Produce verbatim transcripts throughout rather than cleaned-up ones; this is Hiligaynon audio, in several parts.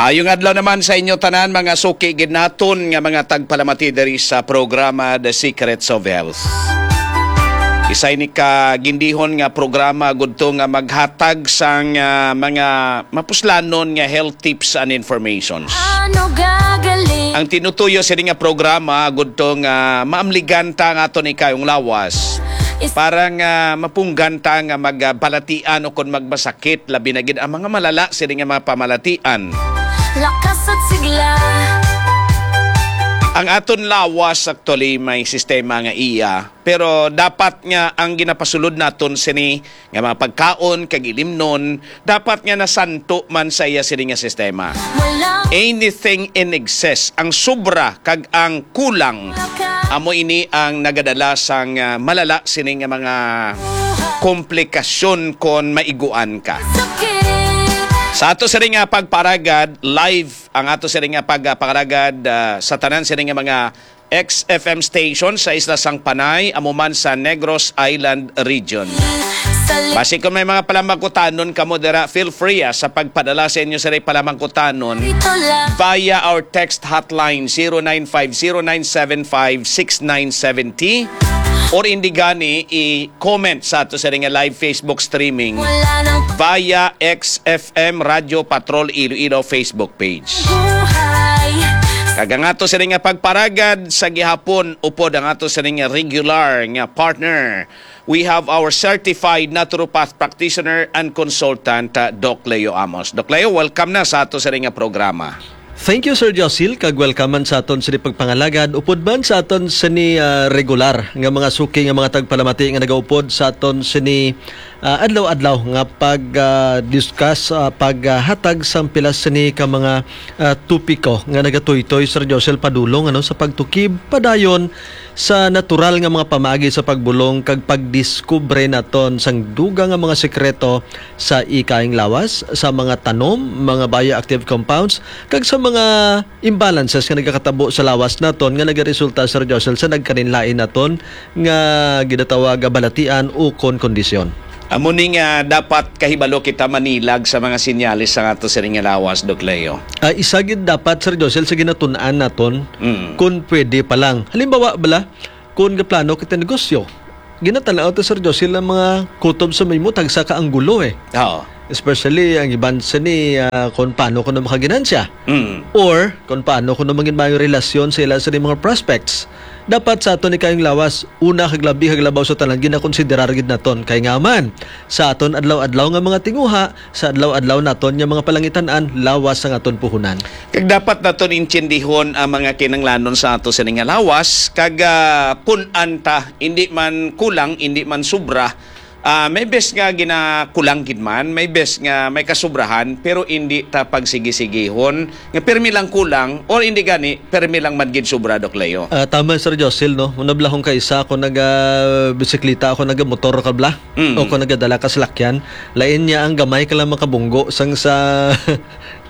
Ayong adlaw naman sa inyo tanan, mga suki gid naton nga mga tagpalamati diri sa programa The Secrets of Health. Isa ini ka gindihon nga programa gudto nga maghatag sang, ah, mga mapuslanon nga health tips and informations. Ano gagaling? Ang tinutuyo sini nga programa gudto nga maamligan ta ang aton ikayong lawas. Is- Para nga mapunggan ta nga magbalatian o kon magmasakit, labi na gid ang mga malala sini nga mga pamalatian. Lakas at sigla. Ang aton lawas actually may sistema nga iya, pero dapat nga ang ginapasulod naton sini nga mga pagkaon kag ilimnon dapat nga nasanto man sa iya sini nga sistema. Walang Anything in excess, ang sobra kag ang kulang, amo ini ang nagadala sang, ah, malala sini nga mga komplikasyon kon maiguan ka. Sa ato sini nga pagparagad, live ang ato sini nga pagparagad, ah, sa tanan sini nga mga X F M station sa isla sang Panay, amo man sa Negros Island Region. Basi kung may mga palamangkutanon kamo dira, feel free, ah, sa pagpadala sa inyo sini palamangkutanon via our text hotline, zero nine five zero nine seven five six nine seven zero, or indi gani i-comment sa ato sini nga live Facebook streaming via X F M Radio Patrol Iloilo Facebook page. Kag ang ato sini nga pagparagad sa gihapon, upod ang ato sini nga regular nga partner. We have our certified naturopath practitioner and consultant, uh, Doc Leo Amos. Doc Leo, welcome na sa ato sini nga programa. Thank you, Sir Josil, kag welcome man sa aton sini pagpangalagad, upod man sa aton sini, ah, regular nga mga suki nga mga tagpalamati nga nagaupod sa aton sini, ah, adlaw-adlaw nga pag, ah, discuss, ah, paghatag sang pila sini ka mga, ah, topiko nga nagatuytoy, Sir Josil, padulong, ano, sa pagtukib padayon sa natural nga mga pamaagi sa pagbulong kag pagdiskubre naton sang dugang nga mga sekreto sa ikayong lawas, sa mga tanom, mga bioactive compounds, kag sa mga imbalances nga nagakatabo sa lawas naton nga nagaresulta, Sir Josel, sa nagkalainlain naton nga ginatawag nga balatian ukon kondisyon. Amo ni nga dapat kahibalo kita manilag sa mga sinyales sa ato sini nga lawas, Doc Leo. Ah, isa gid dapat, Sir Josel, sa ginatun-an naton, Mm. kung pwede pa lang. Halimbawa, bala, kung gaplano kita negosyo, ginatanaw ta, Sir Josel, ang mga kutob sa may mo tagsa ka anggulo, eh. Oo. Especially ang iban sini, ah, kung paano kuno makaginansya. Mm. Or kung paano kuno mangin maayong relasyon sa ila sa mga prospects. Dapat sa aton ikayong lawas, una kag labi kag labaw sa tanan, ginakonsiderar gid naton. Kay nga man, sa aton adlaw-adlaw nga mga tinguha, sa adlaw-adlaw naton nga mga palangitan-an, lawas ang aton puhunan. Kag dapat naton intindihon ang mga kinahanglanon sa ato sini nga lawas, kag, ah, pun-an ta, indi man kulang, indi man sobra, ah, may bes nga ginakulang gid man, may bes nga may kasobrahan, pero indi ta pagsigisigihon nga pirmi lang kulang, or indi gani, pirmi lang man gid sobra, Doc Leo. Ah, tama, Sir Josel, no? Una bala kung kaisa, kung naga-bisikleta ako, nagamotor ka bala, Mm. o kung nagadala ka salakyan, lain niya ang gamay ka lang makabunggo sang sa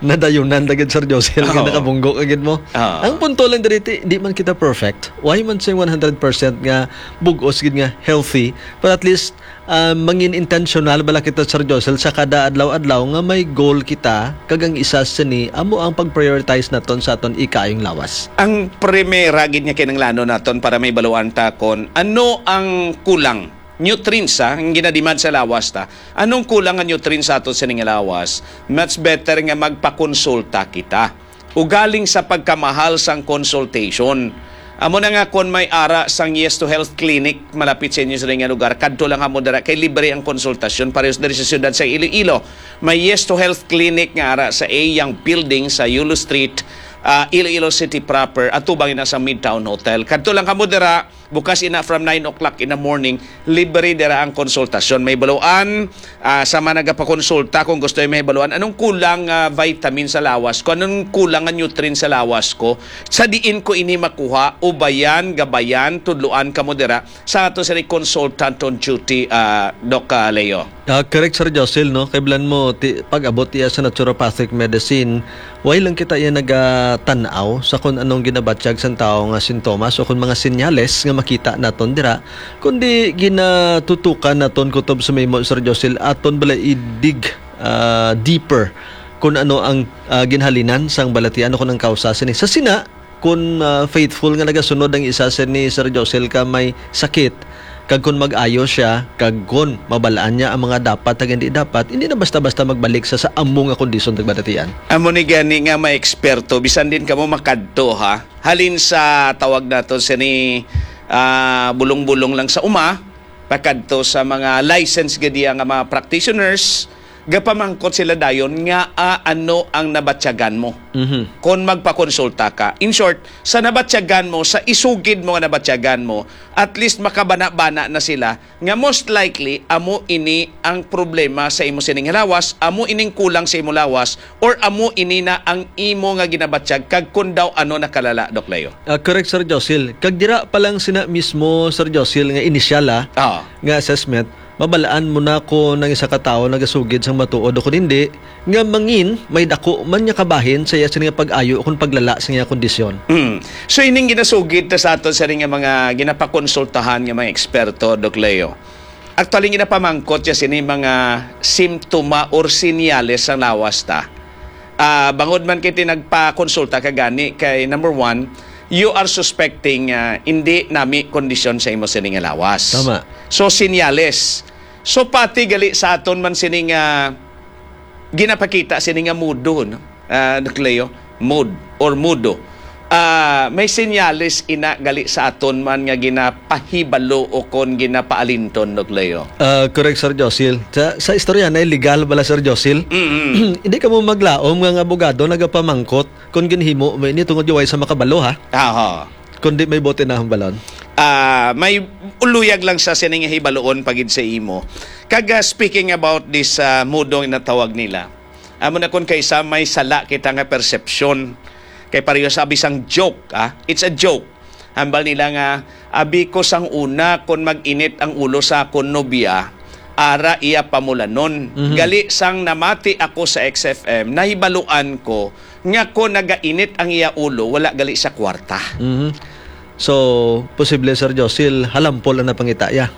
nadayunan na gid, Sir Josel, nga Oo. nakabunggo ka gid mo. Oo. Ang punto lang diri, ti, di man kita perfect. Why man sing one hundred percent nga bug-os gid nga healthy, but at least, ah, mangin intentional bala kita, Sir Josel, sa kada adlaw-adlaw nga may goal kita, kag ang isa sini amo ang pag-prioritize naton sa aton ikayong lawas. Ang primera gid nga kinahanglanon naton para may baluan ta kon ano ang kulang nutrients, ha, ang ginademand sa lawas ta. Anong kulang nga nutrients sa aton sini nga lawas? Much better nga magpakonsulta kita. Ugaling sa pagkamahal sang consultation. Amo na nga, kon may ara sang Yes to Health Clinic malapit sa inyo sa nga lugar, kadto lang kamo dira kay libre ang konsultasyon. Parehas diri sa siyudad sa Iloilo, may Yes to Health Clinic nga ara sa A Young Building sa Yulo Street, ah, Iloilo City proper, atubang ina sa Midtown Hotel. Kadto lang kamo dira, bukas ina from nine o'clock in the morning, libre dira ang konsultasyon. May baluan, ah, sa mga nagapakonsulta, kung gusto yung may baluan, anong kulang nga vitamin sa lawas ko, anong kulang nga nutrient sa lawas ko, sa diin ko ini makuha, ubayan, gabayan, tudluan kamo dira sa ato sa consultant on duty, ah, Doc, ah, Leo. Ah, correct, Sir Josil, no? Kay bilan mo, ti-, pag-abot iya sa naturopathic medicine, way lang kita iya nagatan-aw sa kung anong ginabatyag sang tawo nga sintomas o kung mga senyales nga makita naton dira, kundi ginatutukan naton kutob sa mahimo, Sir Josil, aton bala i-dig, ah, deeper Kung ano ang, ah, ginhalinan sang balatian o kung ang kausa sini. Sa sina, kung, ah, faithful nga nagasunod ang isa sini, Sir Josel, ka may sakit, kag kung mag-ayo siya, kag kung mabalaan niya ang mga dapat kag hindi dapat, hindi na basta-basta magbalik sa, sa amo nga kondisyon kag balatian. Amo ni gani nga may eksperto, bisan din kamo makadto, ha? Halin sa tawag nato sini, ah, bulong-bulong lang sa uma, pakadto sa mga license gid iya nga mga practitioners, gapamangkot sila dayon nga, ah, ano ang nabatyagan mo Mhm. kon magpakonsulta ka. In short, sa nabatyagan mo, sa isugid mo nga nabatyagan mo, at least makabana-bana na sila nga most likely amo ini ang problema sa imo sining lawas, amo ining kulang sa imo lawas, or amo ini na ang imo nga ginabatyag kag kun daw ano nakalala, Doc Leo. Ah, correct, Sir Josil. Kag dira pa lang sina mismo, Sir Josil, nga inisyal, ah, Ah. nga assessment, mabalaan mo na kung ang isa ka tawo nagasugid sang matuod o kung hindi, nga mangin may dako man nga kabahin sa iya sini nga pag-ayo o kung paglala sa iya kondisyon. Mm. So, ining ginasugid ta sa aton sa nga mga ginapakonsultahan nga mga eksperto, Doc Leo. Actually, ginapamangkot siya sini mga simptoma or sinyales sang lawas ta. Ah, bangod man kay ti nagpakonsulta ka gani kay, number one, you are suspecting, ah, hindi nami kondisyon sa imo sini nga lawas. Tama. So, sinyales. So, pati gali sa aton man sini nga ginapakita sini nga mudo, no? Ah, Doc Leo, mood or mudo. Ah, may senyales ina gali sa aton man nga ginapahibalo o kon ginapaalinton, Doc Leo. Ah, correct, Sir Josil. Sa, sa istorya na, illegal bala, Sir Josil? Mm-mm. Hindi ka mo maglaom nga ang abogado nagapamangkot kung ginhimo mo ini tungod yung way sa makabalo, ha? Aha. Kundi may bote na hambalon. Ah, may uluyag lang sa sining hibaluon pagid sa imo. Kag, ah, speaking about this, ah, mudo nga natawag nila, amo na kun kaysa may sala kita nga perception. Kay pareho sa abi sang joke, ah, it's a joke. Hambal nila nga, "Abi ko sang una kon mag-init ang ulo sa akon nobya, ara iya pamulanon." Mhm. Gali sang namati ako sa X F M, nahibaluan ko nga kon nagainit ang iya ulo, wala gali sa kwarta. Mhm. So, posible, Sir Josil, halampol ang napangita, ya.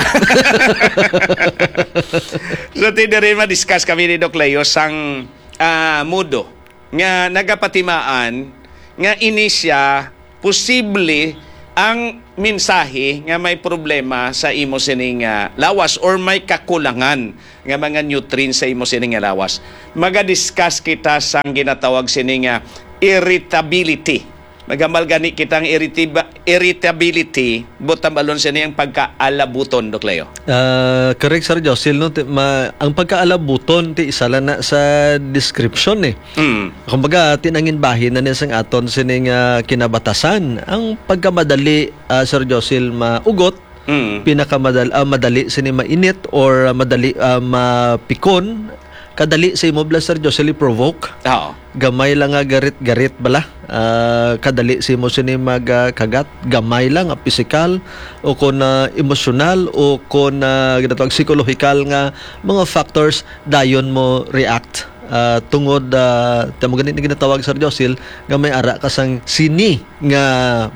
So, ti diri ma-discuss kami ni Doc Leo sang, ah, mudo nga nagapatimaan nga ini siya posible ang mensahe nga may problema sa imo sining, ah, lawas or may kakulangan nga mga nutrients sa imo sining nga lawas. Maga-discuss kita sang ginatawag sini nga irritability. Maghambal gani kita ang irritib-, irritability, but tambalon sini ang pagkaalabuton, Doc Leo. Ah, correct, Sir Josil, no? Ti-, ma-, ang pagkaalabuton, ti isa lang na sa description, eh. Mm. Kumbaga, tinangin bahin na niya sang aton sining, ah, kinabatasan. Ang pagkamadali, ah, Sir Josil, maugot, Mm. pinakamadal-, ah, madali sini mainit or, ah, madali, ah, mapikon, kadali sa imo bala, Sir Josil, i-provoke. Oo. Gamay lang nga garit-garit bala. Ah, kadali sa imo sini mag, ah, kagat. Gamay lang nga pisikal o kon, ah, emosyonal o kon, ah, ginatawag psikolohikal nga mga factors, dayon mo react. Ah, tungod, ah, tamo gani na ginatawag, Sir Josil, nga may ara ka sang sini nga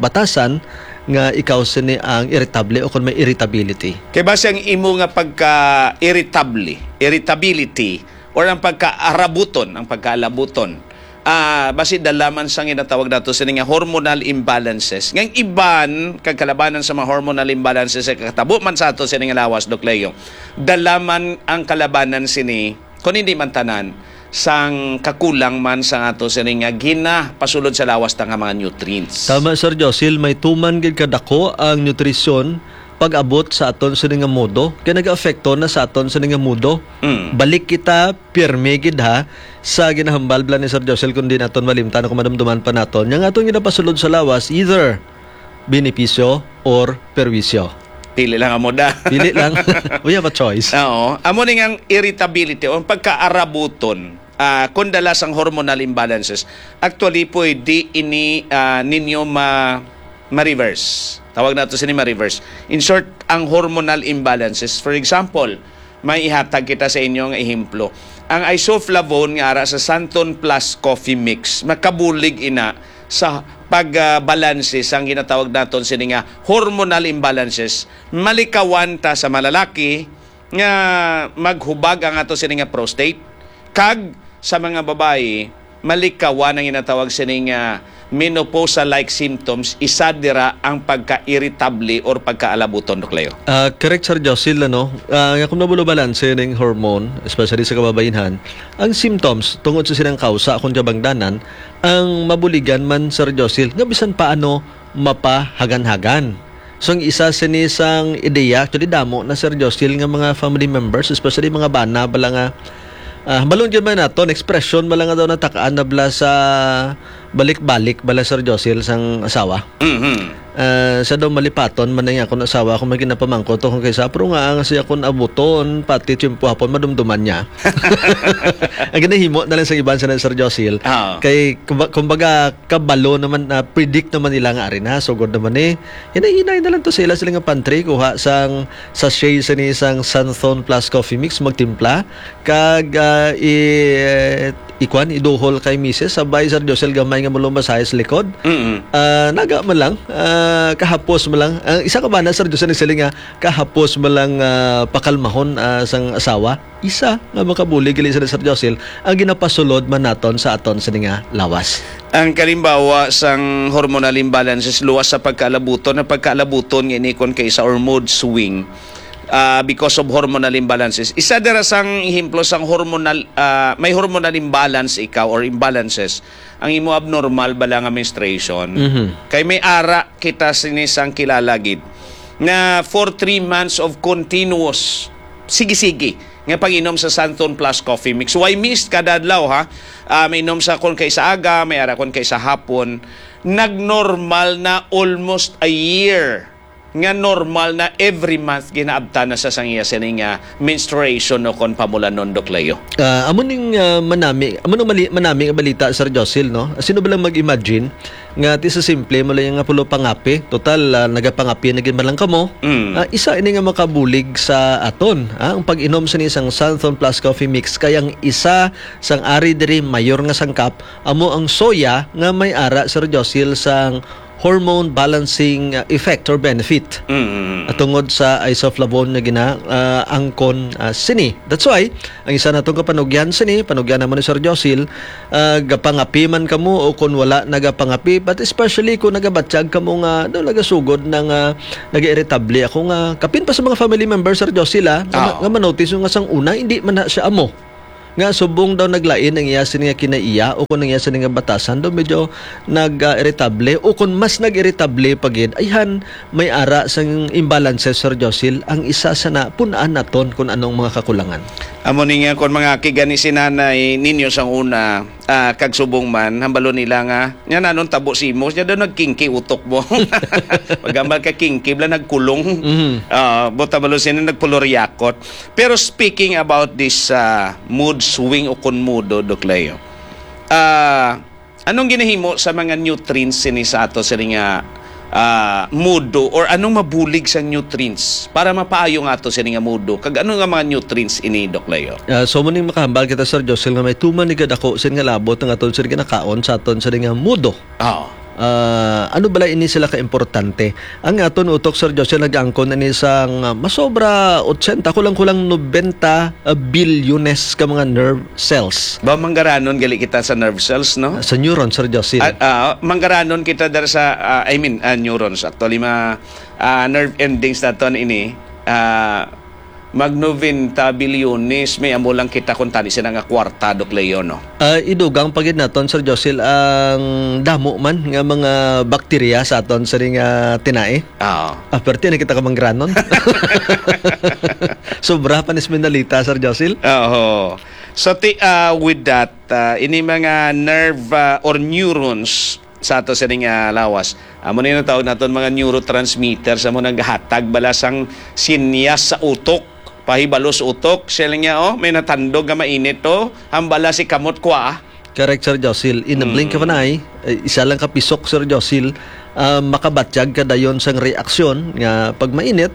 batasan nga ikaw sini ang irritable o kon may irritability. Kay basi ang imo nga pagka-irritable, irritability, or ang pagkaarabuton, ang pagkaalabuton, ah, basi dala man sa ginatawag nato sini nga hormonal imbalances. Nga ang iban kag kalabanan sa mga hormonal imbalances sa katabo man sa ato sini nga lawas, Doc Leo, dala man ang kalabanan sini, kung hindi man tanan, sang kakulang man sa ato sini nga ginapasulod sa lawas ta nga mga nutrients. Tama, Sir Josil, may tuman gid kadako ang nutrisyon pag-abot sa aton sini nga mudo, kay nag-aapekto na sa aton sini nga mudo. Mm. Balik kita, pirmi gid ha, sa ginahambal bala ni Sir Josil, kung di naton malimtan o kung madumduman pa naton. Yang aton ginapasulod sa lawas, either benepisyo or perwisyo. Pili lang amo da. Pili lang. We have a choice. Oo. Amo ni nga ang irritability o ang pagkaarabuton, ah, kung dala sang hormonal imbalances. Actually, pwede ini, ah, ninyo ma-, ma-reverse. Tawag nato sini ma-reverse. In short, ang hormonal imbalances, for example, may ihatag kita sa inyo nga ehemplo. Ang isoflavone nga ara sa Santon Plus Coffee Mix, makabulig ina sa pagbalanse sang ginatawag naton sini nga hormonal imbalances. Malikawan ta sa malalaki nga maghubag ang ato sini nga prostate, kag sa mga babayi, malikawan ang ginatawag sining, ah, menopausal-like symptoms, isa dira ang pagka-irritable or pagkaalabuton, Doc Leo. Ah, correct, Sir Josil, ano? Ah, nga kung nabulo balanse ning hormone, especially sa kababainhan, ang symptoms tungod sa silang kausa akon kabangdanan, ang mabuligan man, Sir Josil, nga bisan paano mapahagan-hagan. So, ang isa sini sang ideya, actually, damo na, Sir Josil, nga mga family members, especially mga bana, bala nga, ah, hambalon gyud man naton, expression bala nga daw natakaan na bala sa balik-balik bala, Sir Josil, sang asawa. Mhm. Ah, sa daw malipaton man na nga akong asawa, ako may ginapamangkot ako kay sa, pero nga ang siya akong abuton, pati tiyempo hapon, madumduman niya. Ang ginahimo na lang sa iban sa Sir Josil, Ah. kay, kumba-, kumbaga, kabalo naman, ah, predict naman nila nga ari na, sugod naman eh. Hinay-hinay na lang to sa ila, sila nga pantry, kuha sang sachet sa ni sang Santhon Plus Coffee Mix, magtimpla, kag, ah, i-, ikuan, iduhol kay misis, sabay, Sir Josel, gamay nga mulumbasahe sa likod. Mm-mm. Ah, naga man lang, ah, kahapos man lang. Ang isa ka bana, Sir Josel, nagsiling nga, kahapos man lang, ah, pakalmahon, ah, sang asawa. Isa nga makabulig gali sa Sir Josel, ang ginapasulod man naton sa aton sini nga lawas. Ang kalimbawa sang hormonal imbalances, luwas sa pagkaalabuton, ang pagkaalabuton nga inikon kay isa or mood swing, ah, because of hormonal imbalances. Isa dira sang ehemplo sang hormonal, ah, may hormonal imbalance ikaw or imbalances, ang imo abnormal bala nga menstruation. Mhm. Kay may ara kita sini sang kilala gid nga for three months of continuous, sige-sige, nga pag-inom sa Santon Plus Coffee Mix. Why mist kada adlaw, ha? Ah, may inom sa kon kay sa aga, may ara kon kay sa hapon. Nagnormal na almost a year nga normal na every month ginaabtan na sa sang iya sini nga menstruation o kon pamulanon, Doc Leo. Ah, amo ning, ah, manami, amo nang mali-, manami nga balita, Sir Josil, no? Sino ba lang mag-imagine nga ti sa simple mo lang nga pulo pangapi? Total, ah, nagapangapi na gid man lang kamo. Mm. Ah, isa ini nga makabulig sa aton, ah, ang pag-inom sa ni sang Santhon Plus Coffee Mix, kay ang isa sang ari diri mayor nga sangkap amo ang soya nga may ara, Sir Josil, sang hormone balancing, uh, effect or benefit. Mm. At tungod sa isoflavone nga gina, uh, angkon, uh, sini. That's why, ang isa natong kapanugyan sini, panugyan naman ni Sir Josil, uh, gapangapi man kamo o kung wala nagapangapi, but especially kung nagabatyag kamo nga, no, nagasugod na nga nag-iritable ako nga, kapin pa sa mga family members, Sir Josil, ah, nga ma-, Oo. nga manotice nga sang una, hindi man na siya amo. Nga subong daw naglain ang iya sini nga kinaiya o kung ang iya sini nga batasan daw medyo nag-iritable o kung mas nag-iritable pa gid, ayhan may ara sang imbalances, Sir Josil, ang isa sa na pun-an naton kung anong mga kakulangan. Amo ni nga kung mga kigani si nanay ninyo sang una, ah, kag subong man, hambalo nila nga, "Nya nanon tabo si imo?" Nya daw nagkingki utok mo. Pagambal ka kingki, bala nagkulong. Mhm. Ah, buta balo sini nagpuluryakot. Pero speaking about this, ah, mood swing o kon mudo, Doc Leo, ah, anong ginahimo sa mga nutrients sini sa ato sini nga, ah, mudo, or anong mabulig sa nutrients para mapaayo nga ato sini nga mudo? Kag ano nga mga nutrients ini, Doc Leo? Ah, so, muning makahambal kita, Sir Josel, nga may tuman ni kadako sin nga labot ang aton sini ginakaon sa aton sini nga mudo. Oo. Ah, ano bala ini sila ka-importante? Ang aton utok, Sir Josel, nag-angkon ini sang, ah, masobra ochenta, kulang-kulang nobenta, ah, bilyones ka mga nerve cells. Ba, manggaranon gali kita sa nerve cells, no? Ah, sa neuron, Sir Josel. Ah, ah, manggaranon kita dara sa, ah, I mean, ah, neurons. Actually, ma-, ah, nerve endings naton ini. Ah, Mag noventa bilyones, may amo lang kita kung tani sila nga kwarta, Doc Leo, no? Ah, idugang pa gid naton, Sir Josil, ang damo man nga mga bakterya sa aton sa ring, ah, tinai. Oo. Ah, perti na kita ka manggaranon. Sobra pa ni Esmeraldita, Sir Josil. Oo. So, ti-, ah, with that, ah, ini mga nerve, ah, or neurons, sa ato sining, ah, lawas. Amo ni natawag naton mga neurotransmitters, amo naghatag bala sang sinyas sa utok, pahibalo sa utok. Siya lang niya, oh, may natandog nga mainit, oh, hambala si kamot kwa. Correct, Sir Josil. In a blink of an Mm. eye, eh, isa lang ka pisok, Sir Josil, ah, makabatyag ka dayon sang reaksyon nga pag mainit,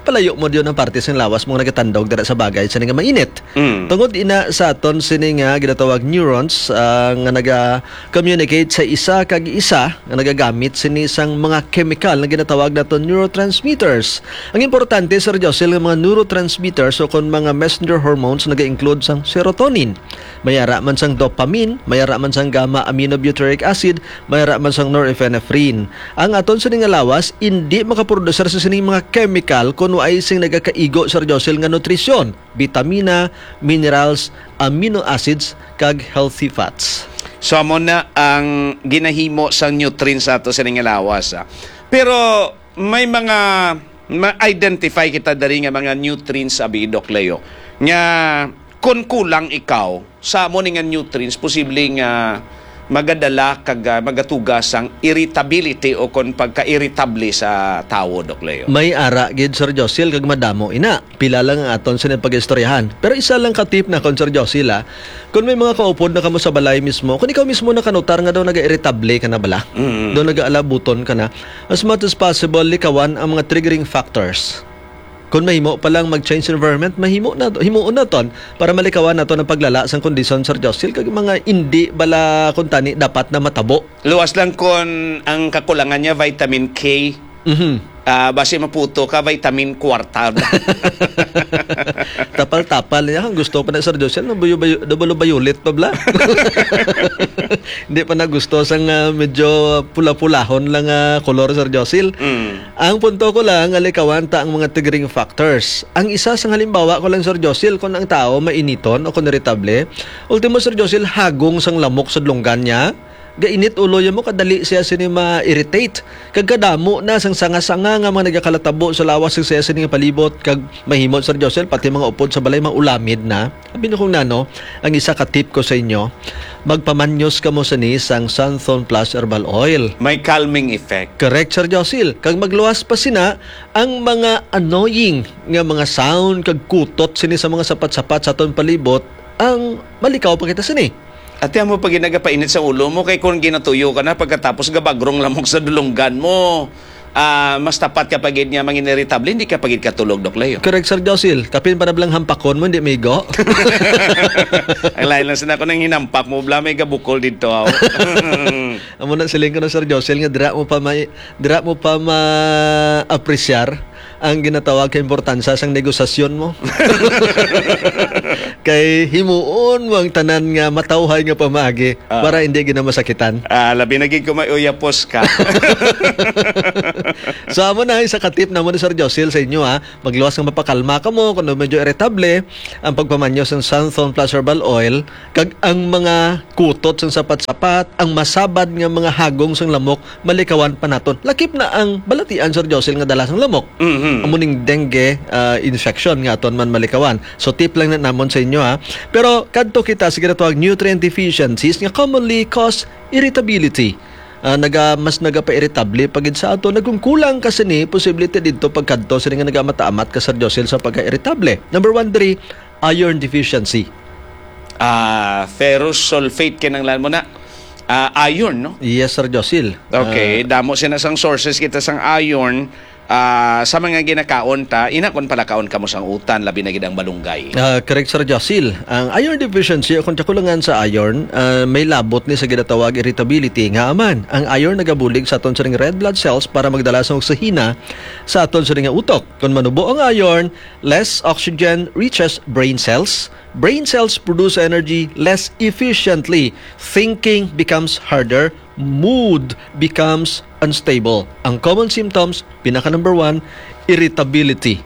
palayo mo diyon ang parte sang lawas mo nga nagatandog dira sa bagay sa nga mainit. Mm. Tungod ina sa aton sini nga ginatawag neurons, ah, nga naga-communicate sa isa kag isa, nga nagagamit sini sang mga chemical nga ginatawag naton neurotransmitters. Ang importante, Sir Josil, nga mga neurotransmitters o kon mga messenger hormones naga-include sang serotonin. May ara man sang dopamine, may ara man sang gamma aminobutyric acid, may ara man sang norepinephrine. Ang aton sini nga lawas indi makaprodusir sa sining mga chemical kon waay sing nagakaigo, Sir Josil, nga nutrisyon, bitamina, minerals, amino acids, kag healthy fats. So, amo na ang ginahimo sang nutrients sa ato sini nga lawas, ah. Pero may mga ma-identify kita diri nga mga nutrients, abi, Doc Leo, nga kon kulang ikaw sa amo ni nga nutrients, posible nga magadala kag, ah, magatuga sang irritability o kon pagka-irritable sa tawo, Doc Leo. May ara gid, Sir Josil, kag madamo ina. Pila lang ang aton sini pag-istoryahan. Pero isa lang ka tip na kon, Sir Josil, ah. Kung may mga kaupod na kamo sa balay mismo, kung ikaw mismo nakanutar nga daw naga-irritable ka na bala, Mm. daw nagaalabuton ka na, as much as possible, likawan ang mga triggering factors. Kung mahimo pa lang mag-change environment, mahimo na, himuon naton para malikawan naton ang paglala sang kondisyon, Sir Josil, kag mga indi bala kuntani dapat na matabo. Luwas lang kon ang kakulangan niya vitamin K. Mhm. Ah, basi maputo ka, vitamin kwarta. Tapal-tapal niya. Ang gusto pa na, Sir Josil, na buyo-, buyo-, double violet pa bala. Hindi pa na gusto sang, ah, medyo pula-pulahon lang, ah, kolor, Sir Josil. Mm. Ang punto ko lang, alikawan ta ang mga triggering factors. Ang isa sang halimbawa ko lang, Sir Josil, kung ang tao mainiton o kung irritable, ultimo, Sir Josil, hagong sang lamok sa dulonggan niya, gainit ulo ya mo, kadali siya sini ma-irritate. Kag kadamo na sang sanga-sanga nga mga nagakalatabo sa lawas sa siya sini nga palibot, kag mahimo, Sir Josil, pati mga upod sa balay maulamid na. Abi na kung nano, ang isa ka tip ko sa inyo, magpamanyos kamo sini sang Santhon Plus Herbal Oil. May calming effect. Correct, Sir Josil. Kag magluwas pa sina ang mga annoying nga mga sound kag kutot sini sa mga sapat-sapat sa aton palibot, ang malikaw pa kita sini. Ate, amo pa gid nagapainit sa ulo mo, kay kung ginatuyo ka na, pagkatapos gabagrong lamok sa dulonggan mo, ah, mas tapat ka pa gid nga mangin-irritable, hindi ka pa gid katulog, Doc Leo. Correct, Sir Josil. Kapin pa na blang hampakon mo, hindi maigo. Ang lain lang sa nako nang hinampak mo, bla, may gabukol dito, aw. Amo na siling ko na, Sir Josil, nga dira mo pa may, dira mo pa ma-apresyar ang ginatawag ka importansya sang negosasyon mo. Kay himuon mo ang tanan nga matawhay nga pamaagi Ah. para hindi gid na masakitan. Ah, labi na gid kung may uyapos ka. So, amo na, isa ka tip na mo ni Sir Josil sa inyo, ha. Magluwas nga mapakalma ka mo kung medyo irritable, ang pagpamanyo sang Santhon Plus Herbal Oil, kag ang mga kutot sang sapat-sapat, ang masabad nga mga hagong sang lamok, malikawan pa naton. Lakip na ang balatian, Sir Josil, nga dala sang lamok. Mhm. Amo ning dengue, ah, infection nga aton man malikawan. So, tip lang na namon sa inyo, ha. Pero kadto kita sa ginatawag nutrient deficiencies nga commonly cause irritability. Ah, naga-, mas nagapa-irritable pa gid sa ato. Nagkungkulang ka sini, posible ti didto pagkadto sini nga nagamata-amat ka, Sir Josil, sa pagka-irritable. Number one, diri, iron deficiency. Ah, ferrous sulfate kinanglan mo na. Ah, iron, no? Yes, Sir Josil. Okay, Ah, damo sina sang sources kita sang iron, ah, sa mga ginakaon ta, ina kon palakaon kamo sang utan, labi na gid ang malunggay. Ah, correct, Sir Josil. Ang iron deficiency o kung kakulangan sa iron, ah, may labot ni sa ginatawag irritability nga aman. Ang iron nagabulig sa aton sining red blood cells para magdala sa oksihina sa aton sining nga utok. Kung manubo ang iron, less oxygen reaches brain cells. Brain cells produce energy less efficiently. Thinking becomes harder. Mood becomes unstable. Ang common symptoms, pinaka number one, irritability.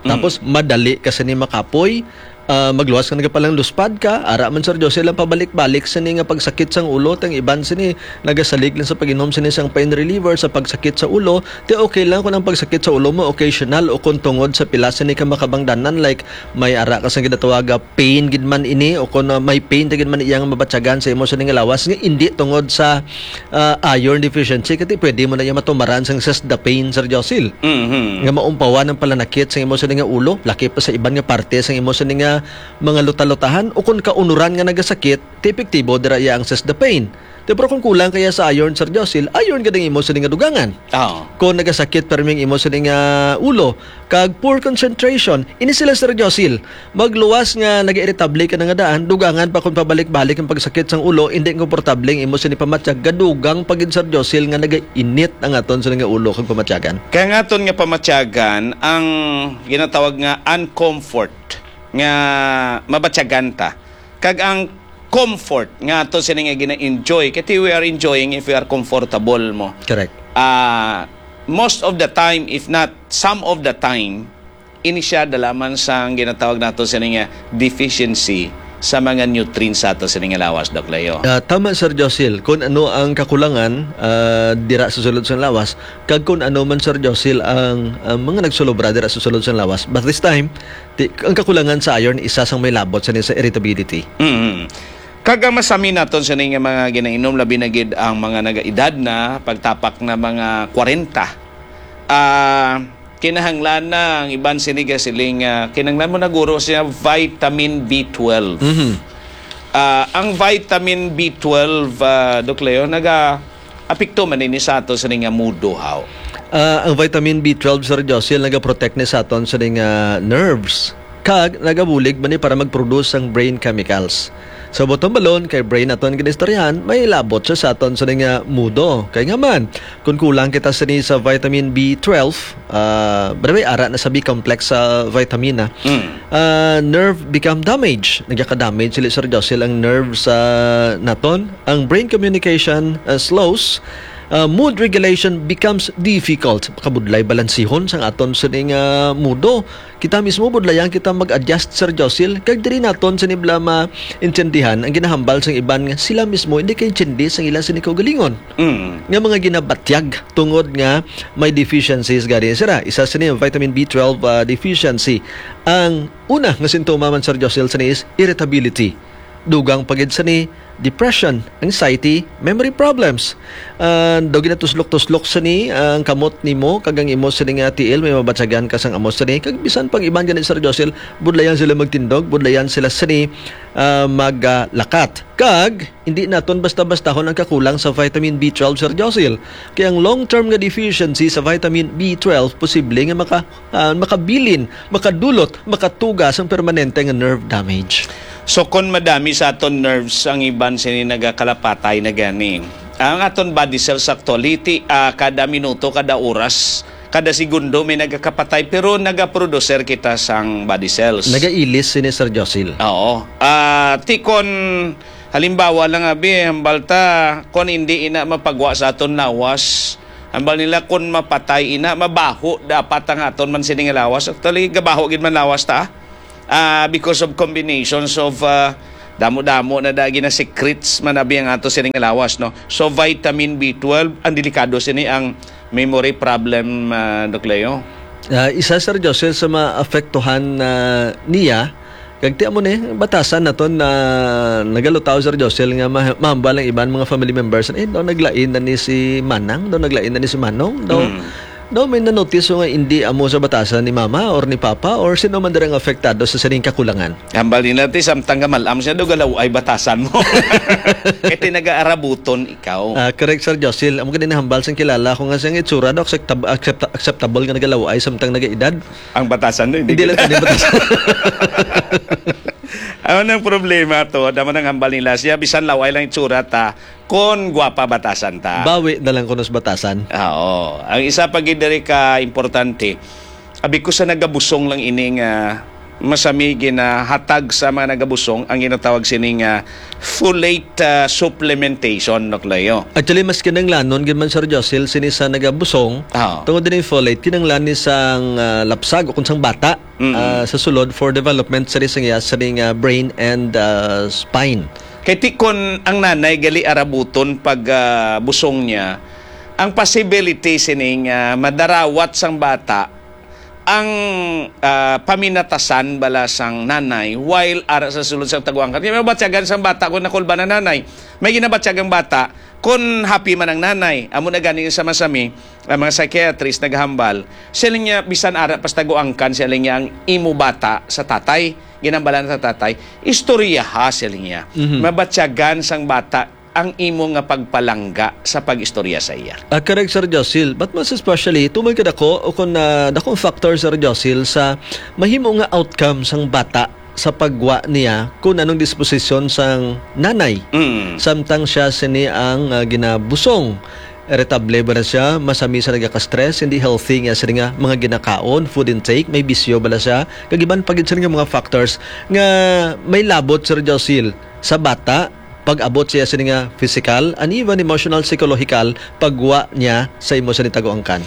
Mm. Tapos, madali ka sini makapoy, ah, magluwas ka nagapalang luspad ka, ara man, Sir Jose, lang pabalik-balik sini nga pagsakit sang ulo, tang iban sini nagasalig lang sa pag-inom sini sang pain reliever sa pagsakit sa ulo, ti okay lang kung ang pagsakit sa ulo mo occasional o kung tungod sa pila sini ka makabangdanan, like, may ara ka sang ginatawaga pain gid man ini, o kung, ah, may pain ta gid man iya nga mabatyagan sa imo sini nga lawas nga indi tungod sa, ah, iron deficiency, kati pwede mo na iya matumaran sang sesda pain, Sir Josil. Mhm. Nga maumpawan ang palanakit sa imo sini nga ulo, lakip pa sa iban nga parte sa imo sini nga mga luta-lutahan, o kung kaunuran nga nagasakit, ti epektibo dira iya ang sesda pain. Pero kung kulang kaya sa iron, Sir Josil, iron gid ang imo sini nga dugangan. Oo. Kung nagasakit permi ang imo sini nga ulo, kag poor concentration, ini sila, Sir Josil, magluwas nga nagairritable ka na nga daan, dugangan pa kung pabalik-balik ang pagsakit sang ulo, hindi komportable ang imo sini pamatyag, gadugang pa gid, Sir Josil, nga nagainit ang aton sini nga ulo kag pamatyagan. Kaya nga aton nga pamatyagan ang ginatawag nga uncomfort nga mabatyagan ta. Kag ang comfort nga ato sini nga gina-enjoy, kay we are enjoying if we are comfortable mo. Correct. Ah, most of the time, if not some of the time, ini siya dalaman sang ginatawag nato sini nga deficiency sa mga nutrients sa ato sini nga lawas, Doc Leo. Ah, tama, Sir Josil, kung ano ang kakulangan, ah, dira sa sulod sang lawas, kag kung ano man, Sir Josil, ang, ang mga nagsulobra dira sa sulod sang lawas. But this time, ti-, ang kakulangan sa iron, isa sang may labot sa, sa irritability. Mm. Kag ang masami naton sini nga mga ginainom, labi na gid ang mga nagaedad na, pagtapak na mga kwarenta. Ah, kinahanglan na ang iban sini gasiling, ah, kinahanglan mo na guro siya vitamin B twelve. Mhm. Ah, ang vitamin B twelve, ah, Doc Leo, naga-apekto man ini sa ato sini nga mudo, haw? Ah, ang vitamin B twelve, Sir Josil, nagaprotect ni sa aton sini nga nerves. Kag nagabulig man ni para mag-produce sang brain chemicals. So, bottom balon, kay brain aton ginistoryahan, may labot siya sa aton sini nga mudo. Kay nga man, kung kulang kita sini sa vitamin B twelve, ah, by the way, ara na sa B complex sa vitamin, ah. Mm. Ah, nerve become damage. Nagaka-damage sila, Sir Josil, ang nerve sa naton. Ang brain communication, ah, slows. Ah, mood regulation becomes difficult. Kabudlay balansihon sang aton sining, ah, mudo. Kita mismo budlayan kita mag-adjust, Sir Josil, kag diri naton sini bala maintindihan ang ginahambal sang iban nga sila mismo hindi kaintindi sang ila sini kaugalingon. Mm. Nga mga ginabatyag tungod nga may deficiencies gani sira. Isa sini ang vitamin B twelve, ah, deficiency. Ang una nga sintoma man, Sir Josil, sini is irritability. Dugang pa gid sini, depression, anxiety, memory problems. Ah, daw ginatuslok-tuslok sini ang kamot nimo kag ang imo sini nga tiil, may mabatyagan ka sang amo sini. Kag bisan pang iban gani, Sir Josil, budlayan sila magtindog, budlayan sila sini, ah, maglakat. Kag hindi naton basta-bastahon ang kakulang sa vitamin B twelve, Sir Josil. Kay ang long-term nga deficiency sa vitamin B twelve posible nga maka-, ah, makabilin, makadulot, makatuga sang permanente nga nerve damage. So, kon madami sa aton nerves, ang iban sini nagakalapatay na gani. Ang aton body cells actually, ti-, ah, kada minuto, kada oras, kada segundo may nagakapatay, pero nagaproducer kita sang body cells. Nagailis sini, Sir Josil. Oo. Ah, ti kon halimbawa lang, abi, hambal ta, kon hindi ina mapagwa sa aton lawas, hambal nila, kon mapatay ina, mabaho dapat ang aton man sini nga lawas. Actually, gabaho gid man lawas ta, ah. Ah, because of combinations of, ah, damo-damo na da ginasecretes man abi ang ato sini nga lawas, no? So, vitamin B twelve, ang delikado sini ang memory problem, ah, Doc Leo. Ah, isa, Sir Josil, sa maapektuhan na niya, kag ti amo ni, batasan naton na nagalutaw, Sir Josil, nga ma-, mahambal ang iban mga family members, eh, daw naglain na ni si Manang, daw naglain na ni si Manong, daw, Mm. daw may nanotice nga hindi amo sa batasan ni Mama or ni Papa or sino man dira nga apektado sa sining kakulangan. Hambal nila, ti, samtang nga malam siya, daw galaw ay batasan mo. Kay ti nagaarabuton ikaw. Ah, correct, Sir Josil. Amo gani nahambal sang kilala ko nga siyang itsura daw acceptab-, accept-, acceptable nga nagalaw ay samtang nagaedad. Ang batasan, no? Hindi Hindi lang kita. Tani batasan. Ano nang problema to? Damo nang hambal nila siya, bisan laway lang itsura ta, kon gwapa batasan ta. Bawi na lang kuno sa batasan. Ah, oo. Ang isa pa gid diri ka importante, abi ko sa nagabusong lang ini nga masami ginahatag sa mga nagabusong ang ginatawag sini nga folate, ah, supplementation, Doc Leo. Actually, mas kinahanglanon gid man, Sir Josil, sini sa nagabusong. Ah. Tungod din folate, kinahanglan ni sang, ah, lapsag o kung sang bata, Mm-mm. ah, sa sulod for development sa ring, sa ring, ah, brain and, ah, spine. Kay ti kon ang nanay gali arabuton pag, ah, busong niya, ang possibility sining, ah, madarawat sang bata ang, ah, paminatasan bala sang nanay while ara sa sulod sang taguangkan. Kaya mabatyagan sang bata kung nakulba na nanay. May ginabatyag ang bata kung happy man ang nanay. Amo na gani sa masami, ang mga psychiatrist naghambal, siling niya, bisan ara pas taguangkan, siling niya, ang imo bata sa tatay, ginambalan sa tatay, istoryaha, siling niya. Mhm. Mabatyagan sang bata ang imo nga pagpalangga sa pag-istorya sa iya? Ah, correct, Sir Josil. But most especially, tumod ka dako, o kung, ah, dakong factor, Sir Josil, sa mahimo nga outcome sang bata sa pagwa niya kung anong disposisyon sang nanay. Mm. Samtang siya sini ang, ah, ginabusong. Irritable ba na siya? Masami sa nagaka-stress, hindi healthy nga sini nga mga ginakaon, food intake, may bisyo ba na siya? Kag iban pa gid sini nga mga factors nga may labot, Sir Josil, sa bata, pag-abot siya sini nga physical, and even emotional, psychological, pagwa niya sa imo sa nitago angkan.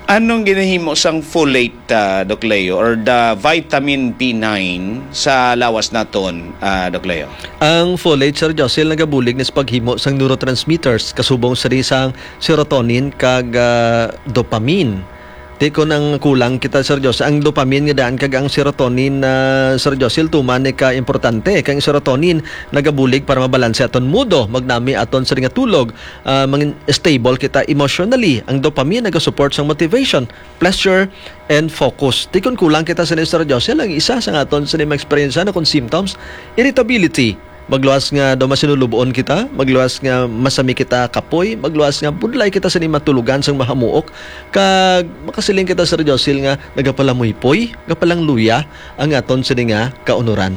Anong ginahimo sang folate, ah, Doc Leo, or the vitamin B nine sa lawas naton, ah, Doc Leo? Ang folate, Sir Josil, nagabulig ni sa paghimo sang neurotransmitters, kasubong sini sang serotonin kag, ah, dopamine. Ti kon ang kulang kita, Sir Josil, ang dopamine nga daan kag ang serotonin, ah, Sir Josil, tuman ni ka importante. Kay ang serotonin nagabulig para mabalanse aton mood, magnami aton sini nga tulog, ah, mangin stable kita emotionally. Ang dopamine nagasupport sang motivation, pleasure, and focus. Ti kon kulang kita sini, Sir Josil, ang isa sa aton sini ma-experience na kon symptoms, irritability. Magluwas nga daw masinulubon kita, magluwas nga masami kita kapoy, magluwas nga budlay kita sini matulogan sang mahamuok, kag makasiling kita, Sir Josil, nga nagapalamuypoy, nagapalangluya ang aton sini nga kaunuran.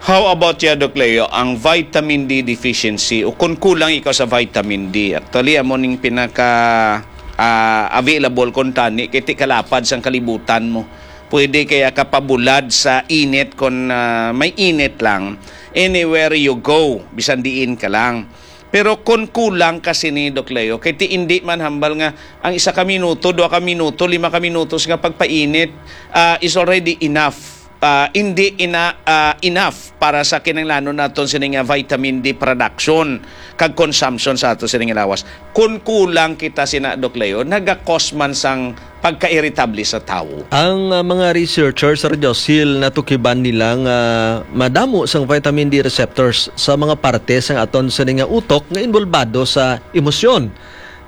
How about ya, Doc Leo, ang vitamin D deficiency o kung kulang ikaw sa vitamin D? Actually, amo ning pinaka, ah, available kon tani kay ti kalapad sang kalibutan mo. Pwede kaya ka pabulad sa init kon, ah, may init lang. Anywhere you go, bisan diin ka lang. Pero kon kulang ka sini, Doc Leo, kay ti indi man hambal nga ang isa ka minuto, dua ka minuto, lima ka minutos nga pagpainit, ah, is already enough. Ah, indi ina-, ah, enough para sa kinahanglanon naton sini nga vitamin D production kag consumption sa ato sini nga lawas. Kon kulang kita sina, Doc Leo, naga-cause man sang pagka-irritable sa tawo. Ang, ah, mga researchers, Sir Josil, natukiban nila nga madamo sang vitamin D receptors sa mga parte sang aton sini nga utok nga involbado sa emosyon.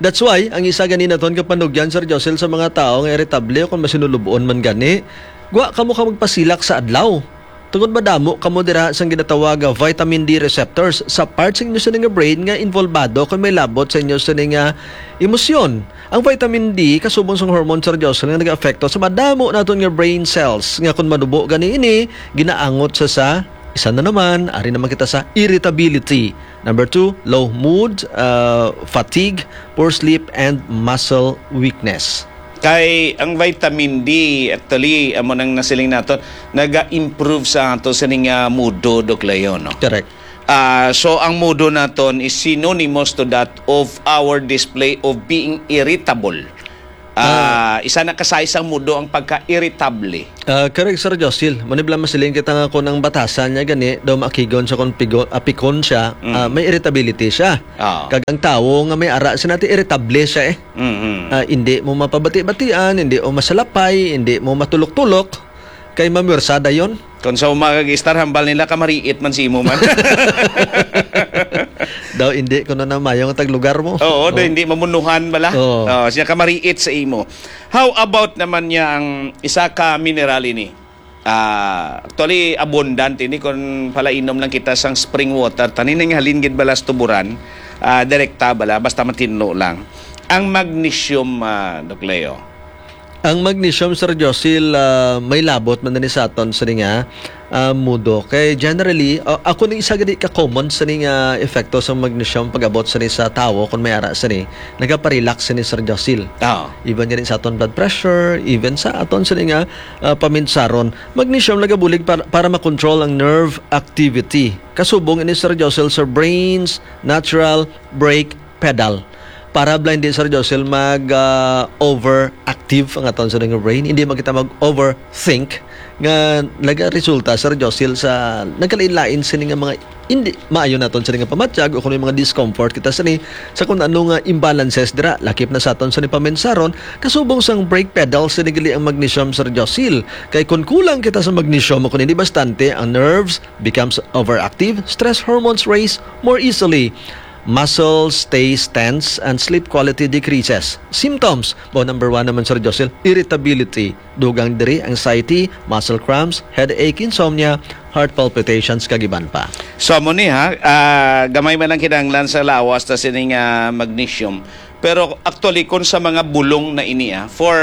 That's why, ang isa gani naton kapanugyan, Sir Josil, sa mga tawo nga irritable o kung masinulubon man gani, gwa kamo ka magpasilak sa adlaw. Tungod madamo kamo dira sang ginatawag nga vitamin D receptors sa parts sa inyo sini nga brain nga involbado kon may labot sa inyo sini nga emosyon. Ang vitamin D kasubong sang hormone, Sir Jocelyn, nga nag-aapekto sa madamo naton nga brain cells nga kon manubo gani ini, ginaangot sa, sa isa na naman, ari naman kita sa irritability. Number two, low mood, uh, fatigue, poor sleep, and muscle weakness. Kay ang vitamin D, actually, amo nang nasiling naton, naga-improve sa ato sining, ah, mood, Doc Leo, no? Correct. Ah, so, ang mood naton is synonymous to that of our display of being irritable. Ah, Ah. Isa na ka size sang mood ang pagka-irritable. Ah, correct, Sir Josil. Mao ni bala masiling kita nga kung ang batasan niya gani, daw maakigon siya kung pigo-, apikon siya, Mm. ah, may irritability siya. Ah. Kag ang tawo nga may ara, sinati irritable siya eh. Mm-mm. Ah, hindi mo mapabati-batian, hindi mo masalapay, hindi mo matulok-tulok, kay mamwersa dayon. Kung sa uma kag istar, hambal nila, kamariit man si imo man. Daw, hindi ko na namayo nga taglugar mo. Oo, daw, Oh. hindi mamunuhan bala. Oo. Oh, siya kamariit sa imo. How about naman niya ang isa ka mineral ini? Ah, actually, abundant ini kung palainom lang kita sang spring water. Tani nang halin gid bala sa tuburan, ah, direkta bala, basta matinlo lang. Ang magnesium, ah, Doc Leo. Ang magnesium, Sir Josil, ah, may labot man ni sa aton sa nga, ah, mudo. Kay generally, ah, ako ning isa gani ka common sa nga epekto sa magnesium pag-abot sa ni sa tawo kung may ara sa ni, nagapa-relax sa ni, Sir Josil. Ah. Even gani sa aton blood pressure, even sa aton sa ni nga, ah, paminsaron. Magnesium nagabulig para, para makontrol ang nerve activity. Kasubong ini, Sir Josil, sa brain's natural brake pedal. Para bala hindi, Sir Josil, mag, ah, overactive ang aton sa nga brain. Hindi man kita mag-overthink nga nagaresulta, Sir Josil, sa nagkalain-lain sini nga mga hindi maayo naton sini nga pamatyag o kung may mga discomfort kita sini sa kung ano nga imbalances dira, lakip na sa aton sini paminsaron, kasubong sang brake pedal sini gali ang magnesium, Sir Josil. Kay kung kulang kita sa magnesium o kung hindi bastante, ang nerves becomes overactive, stress hormones raise more easily. Muscles stays tense and sleep quality decreases. Symptoms, bo number one naman, Sir Josel, irritability. Dugang diri, anxiety, muscle cramps, headache, insomnia, heart palpitations, kag iban pa. So, amo ni, ha, ah, gamay man ang kinahanglan sa lawas ta sining, ah, magnesium. Pero actually, kung sa mga bulong na ini, ah, for,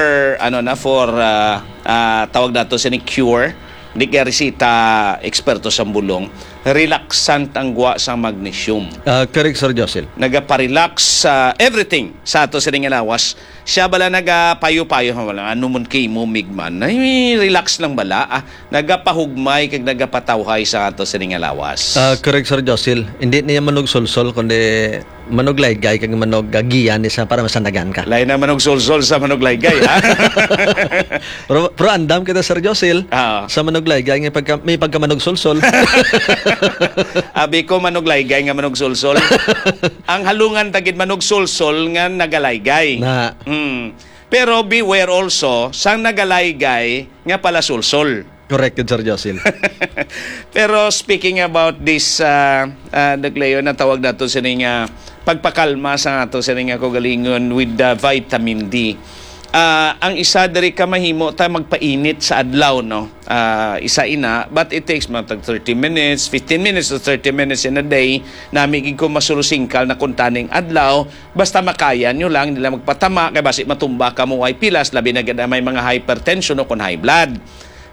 ano na, for, ah, ah, tawag nato sini cure, di kay resita eksperto sa bulong, relaxant ang gwa sa magnesium. Ah, correct, Sir Josil. Nagaparelax sa everything sa ato sining lawas. Siya bala nagapayo-payo, "Wala, ano man kay mo, Migman? Ay, relax lang bala, ah." Nagapahugmay kag nagapatawhay sa ato sining lawas. Ah, correct, Sir Josil. Hindi niya manugsulsol, kundi manuglaygay kag manuggagiya ni sa para masanagan ka. Lain ang manugsulsol sa manuglaygay, ha? Pero, pero andam kita, Sir Josil, Ah. sa manuglaygay nga pagka, may pagkamanugsulsol. Abi ko, manuglaygay nga manugsulsol. Ang halungan tagid manugsulsol nga nagalaygay. Na. Hmm. Pero beware also sang nagalaygay nga palasulsol. Correct yun, Sir Josil. Pero speaking about this, ah, ah, Doc Leo, natawag nato sini nga pagpakalma sa ato sini nga kaugalingon with the vitamin D. Ah, ang isa diri ka mahimo ta magpainit sa adlaw, no? Ah, isa ina, but it takes mga tag thirty minutes, fifteen minutes to thirty minutes in a day. Nami gid ko masurusingkal na kuntaning adlaw, basta makaya nyo lang, dili lang magpatama, kay basi matumba ka mo ay pilas, labi na gid ang may mga hypertension o kon high blood.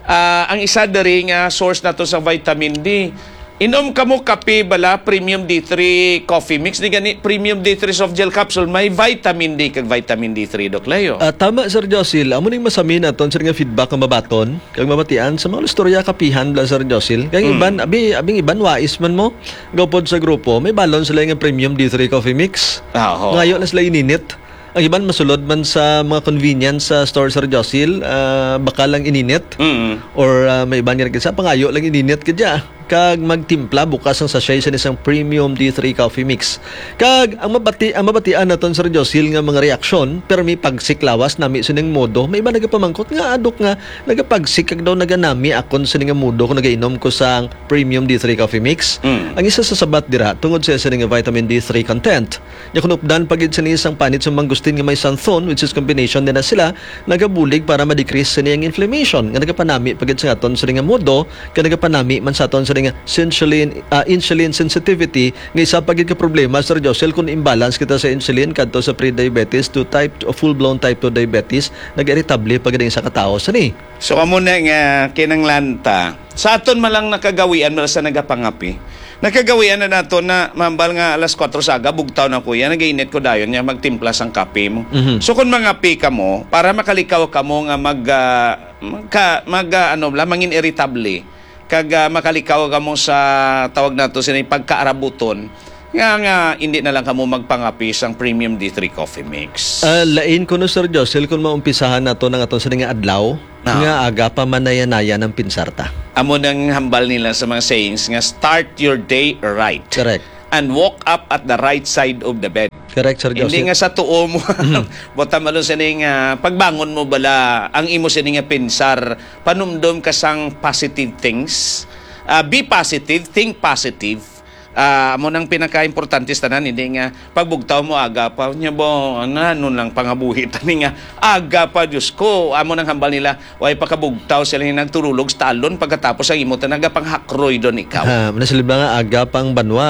Ah, ang isa diri nga source nato sa vitamin D, inom kamo kape bala, Premium D three Coffee Mix, ni gani Premium D three Soft Gel Capsule, may vitamin D kag vitamin D three, Doc Leo. Ah, tama, Sir Josil. Amo ning masami naton, sir, nga feedback nga mabaton kag mabatian sa mga istorya kapihan bala, Sir Josil. Kag Mm. iban, abi, abing iban, wais man mo, gupod sa grupo, may balon sila nga Premium D three Coffee Mix. Ah, oo. Ngayo na sila ininit. Ang iban masulod man sa mga convenience sa store, Sir Josil, ah, baka lang ininit. Mm. Or, ah, may iban nga nagkisa, pangayo lang ininit ka dya. Kag magtimpla bukas ang sachet sa isang Premium D three Coffee Mix. Kag ang mabati-, ang mabatian naton, Sir Josil, nga mga reaksyon, pero may pagsiklawas nami sining modo. May iba nagapamangkot nga adok nga nagapagsik kag daw naganami akon sini nga modo kung nagainom ko sang Premium D three Coffee Mix. Mm. Ang isa sa sabat dira, tungod sa sini nga vitamin D three content. Nya, kun updan pa gid sini sang panit sa mangustin nga may xanthone, which is combination nila sila, nagabulig para ma-decrease sini ang inflammation nga nagapanami pa gid sa aton sini nga modo, kag nagapanami man sa aton sini nga insulin, ah, insulin sensitivity, nga isa pa gid ka problema, Sir Josel, kun imbalance kita sa insulin kadto sa pre-diabetes to type, full-blown type two diabetes, nag-iritable pa gid ang isa ka tawo sini. So, amo na nga kinanglan ta. Sa aton man lang nakagawian, man sa nagapangapi. Nakagawian na nato na, mambal nga alas kuwatro sa aga, bugtaw na ko yan, nagainit ko dayon niya, magtimpla sang kape mo. Mhm. So, kung mangapi ka mo, para makalikaw ka mo nga mag, ah, magka-, mag, ah, ano, la, mangin irritable, kag, ah, makalikaw ka mo sa, tawag nato, sini pagkaarabuton, nga, nga, hindi na lang kamo magpangapi sang Premium D three Coffee Mix. Ah, lain kuno, Sir Josel, kung maumpisahan nato ng aton sini nga adlaw, Ah. nga aga pa manaya-naya ng pinsar ta. Amo nang hambal nila sa mga sayings nga, "Start your day right." Correct. "And woke up at the right side of the bed." Correct, Sir Hindi Joseph. nga sa tuo mo. Mhm. Bota malo sining, ah, pagbangon mo bala, ang imo sini nga pinsar, panumdom ka sang positive things. Ah, be positive, think positive. Ah, amo nang pinakaimportante sa tanan, hindi nga pagbugtaw mo aga pa, nya ba, ano, ano lang pangabuhi tani nga aga pa, Diyos ko, amo nang hambal nila, way pa kabugtaw sila nga nagturulog sa talon, pagkatapos ang imo ta nagapanghakroy doon ikaw. Ah, manasilib na nga aga pang banwa,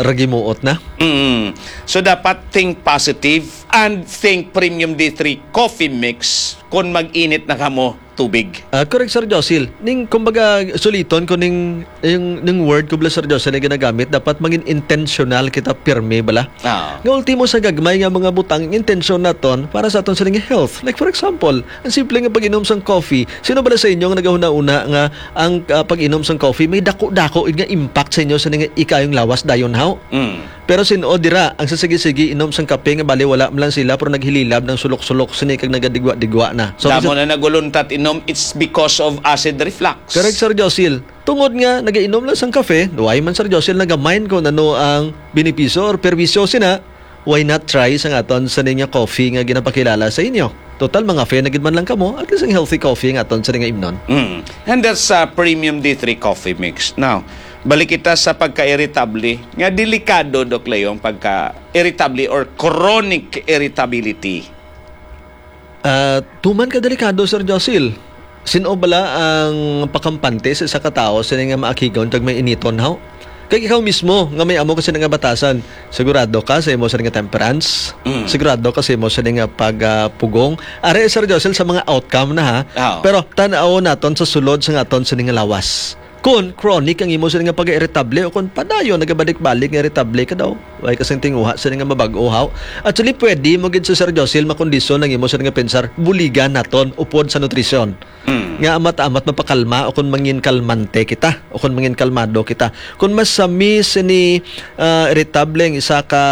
ragimuot na. Mm. So, dapat think positive and think Premium D three Coffee Mix kung mag-init na kamo tubig. Ah, correct, Sir Josil. Ning, kumbaga, suliton ko ning, yung, ning word ko bala, Sir Josil, na ginagamit, dapat maging intentional kita, pirmi bala. Ah. Nga ultimo sa gagmay nga mga butang, intensyon naton para sa aton sining health. Like, for example, ang simple nga pag-inom sang coffee. Sino bala sa inyo nga nagahuna-una nga ang, ah, pag-inom sang coffee may dako-dako nga impact sa inyo sa ning ikayong lawas dayon, haw? Mm. Pero sin-o dira ang sa sige-sige inom sang kape nga bali wala man lang sila pero naghililab ng sulok-sulok sini kag nagadigwa-digwa na. So, Damo sa na naguluntat inom, it's because of acid reflux. Correct, Sir Josil. Tungod nga nagainom lang sang kape, why man, Sir Josil, nagamind ko nano ang benepisyo or perwisyo sina, why not try sang aton sa ninya coffee nga ginapakilala sa inyo? Total, mga fe na gid man lang kamo, at least ang healthy coffee nga aton sa nga imnon. Mm. And that's, uh, Premium D three Coffee Mix. Now, Balik kita sa pagka-irritable. Nga delikado, Doc Leo, ang pagka-irritable or chronic irritability. Ah, tuman ka delikado, Sir Josil. Sino bala ang pakampante sa isa ka tawo sini nga maakigon kag may initon, haw? Kag ikaw mismo nga may amo ka sini nga batasan, sigurado ka sa imo sini nga temperance? Mm. Sigurado ka sa imo sini nga pag, ah, pugong? Are, Sir Josil, sa mga outcome na, ha? Oo. Pero tan-aw naton sa sulod sa nga aton sini nga lawas. Kon chronic ang imo sini nga pag-irritable o kon padayon nagabalik-balik nga irritable ka daw, way ka sing tinguha sini nga mabag-o, haw. Actually, pwede mo gid sa, Sir Josil, makondisyon ang imo sini nga pensar, buligan naton upod sa nutrisyon. Mm. Nga amat-amat mapakalma o kon mangin kalmante kita o kon mangin kalmado kita. Kon masami sini, ah, irritable ang isa ka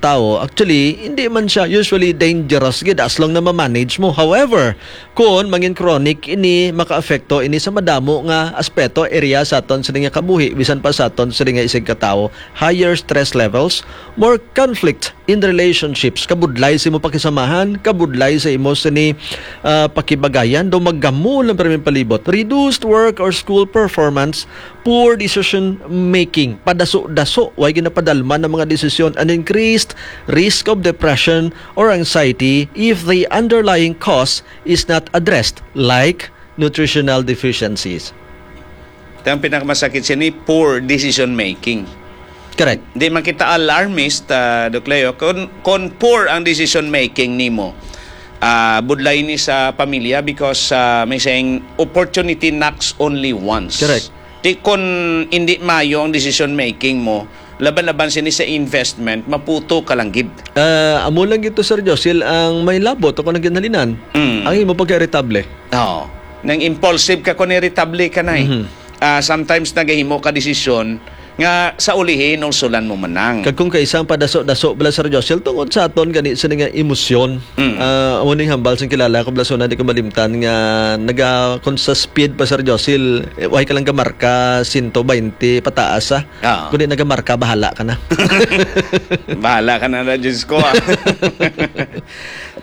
tawo, actually, hindi man siya usually dangerous gid as long na ma-manage mo. However, kon mangin chronic ini, makaapekto ini sa madamo nga aspeto, area sa aton sini nga kabuhi, bisan pa sa aton sini nga isigkatawo. Higher stress levels, more conflict in relationships, kabudlay sa imo pakisamahan, kabudlay sa imo sini, ah, pakibagayan, daw maggamol ang pirming palibot, reduced work or school performance, poor decision making, padaso-daso, way ginapadalman ang mga desisyon, and increased risk of depression or anxiety if the underlying cause is not addressed, like nutritional deficiencies. Ang pinakamasakit sini, poor decision making. Correct. Di man kita alarmist, ah, Doc Leo. Kung, kung poor ang decision making nimo, ah, budlay ni sa pamilya because, ah, may saying, "Opportunity knocks only once." Correct. Di kun hindi mayo ang decision making mo, laban-laban sini sa investment, maputo ka lang gid. Ah, amo lang gid to, Sir Josil, ang may labot o kung ginhalinan, Mm. ang imo pagka-irritable. Oo. Nang impulsive ka, kung irritable ka na eh. Mhm. Ah, sometimes nagahimo ka desisyon nga sa ulihi, hinulsulan mo man lang. Kag kung kaisa ang padaso-daso bala, Sir Josil, tungod sa aton gani sini nga emosyon. Mm. Ah, amo ning hambal sing kilala ko, bala, so na di ko malimtan nga naga-, kung sa speed pa, Sir Josil, eh, way ka lang gamarka, sento baynte pataas, ah. Oo. Kundi nagamarka, bahala ka na. Bahala ka na na, Diyos ko, ah.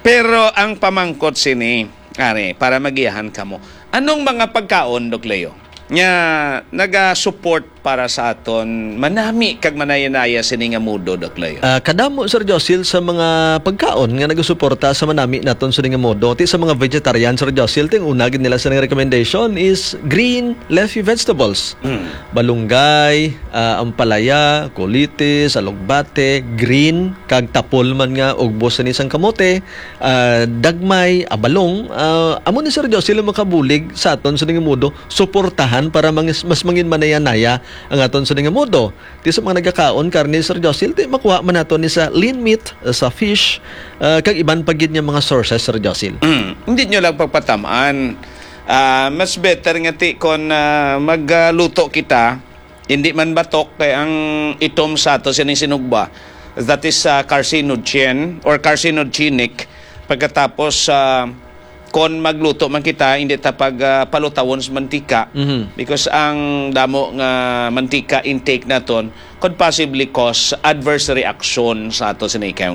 Pero ang pamangkot sini, are, para magiyahan ka mo, anong mga pagkaon, Doc Leo, nga naga-support para sa aton manami kag manayanaya sini nga mudo, Doc Leo? Ah, kadamo, Sir Josil, sa mga pagkaon nga nagasuporta sa manami naton sini nga mudo. Ti sa mga vegetarian, Sir Josil, ting una gid nila sa recommendation is green leafy vegetables. Mm. Balunggay, ah, ampalaya, kulitis, alugbate, green, kag tapol man nga ugbos sini sang kamote, ah, dagmay, abalong. Ah, amo ni, Sir Josil, ang makabulig sa aton sini nga mudo, suportahan para mangis-, mas mangin manayanaya ang aton sini nga mudo. Ti sa mga nagakaon karne, Sir Josil, ti makuha man nato ni sa lean meat, ah, sa fish, ah, kag iban pa gid nga mga sources, Sir Josil. Mm, hindi nyo lang pagpatamaan. Ah, mas better nga ti kon, ah, magluto kita, hindi man batok kay ang itom sa ato sining sinugba, that is, ah, carcinogen or carcinogenic. Pagkatapos, ah, kon magluto man kita, hindi ta pag, ah, palutawon sa mantika. Mhm. Because ang damo nga mantika intake naton could possibly cause adverse reaction sa ato sining ikayong